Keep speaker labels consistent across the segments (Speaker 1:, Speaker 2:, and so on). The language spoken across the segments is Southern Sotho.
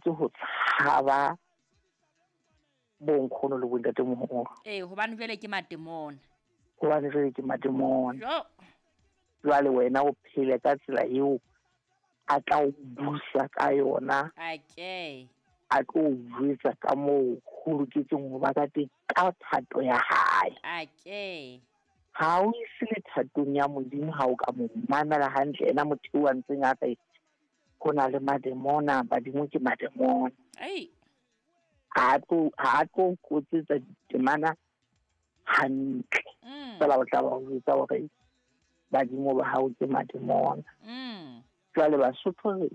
Speaker 1: tshwanetse ho tshaba bonkgono le bontatemoholo.
Speaker 2: Ee, hobane jwale ke matemona.
Speaker 1: Hobane jwale ke matemona.
Speaker 2: Jo.
Speaker 1: Jwale wena o phele ka tsela eo a tla o busa ka yona.
Speaker 2: Okay.
Speaker 1: A tlo o jwetsa ka moo ho loketseng ho ba ka teng ka thato ya hae.
Speaker 2: Okay.
Speaker 1: Ha o ise le thatong ya Modimo ha o ka mo mamela hantle ena motho eo a ntseng a re ho na le mademona, badimo ke mademona.
Speaker 2: Ei.
Speaker 1: Ha a tlo kotsetsa ditemana hantle. Fela o tla ba jwetsa hore badimo ba hao ke mademona. Jwale Basotho re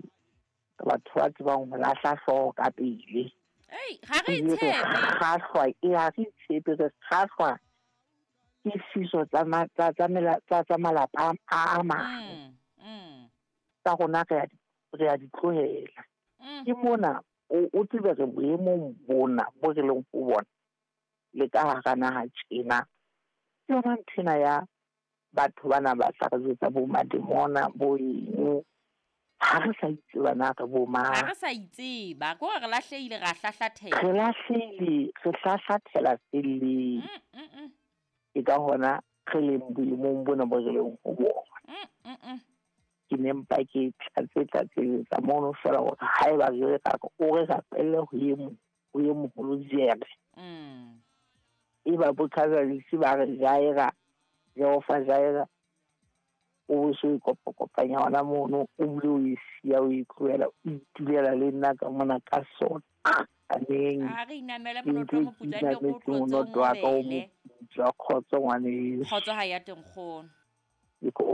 Speaker 1: batho ba tsebang ho lahla hlooho ka pele.
Speaker 2: Ei, ha re itshepe.
Speaker 1: Kgahlwa, e ha re itshepe, re kgahlwa ke fiso tsa malapa a mang. Tsa rona re a di tlohela. Ke mona o tsebe re boemong bona bo re leng ho bona le ka hara naha tjena. Ke yona nthwena ya batho bana ba tla re jwetsa bo mademona bo eng. Ha re sa itseba na re bo mang.
Speaker 2: Ha re sa itseba, ke hore re lahlehile, ra hlahlathela.
Speaker 1: Re lahlehile, re hlahlathela felleng. Ke ka hona re leng boemong bona bo re leng ho bona. Ke ne mpa ke tlatsetsa mono fela hore haeba re re o re rapelle ho ye moholo jere. E ba bo Casualty ba re Jaira, Jehova Jaira, o so ikopakopanya hona mono, o bile o e siya, o e tlohela, o itulela le nna ka mona ka sona. Aneng.
Speaker 2: A re inamele monoto o moputswa, nne o tlotse o
Speaker 1: Monoto wa ka o
Speaker 2: mobele.
Speaker 1: moputswa, kgotso ngwaneso.
Speaker 2: Kgotso ha ya teng kgono.
Speaker 1: Ke ko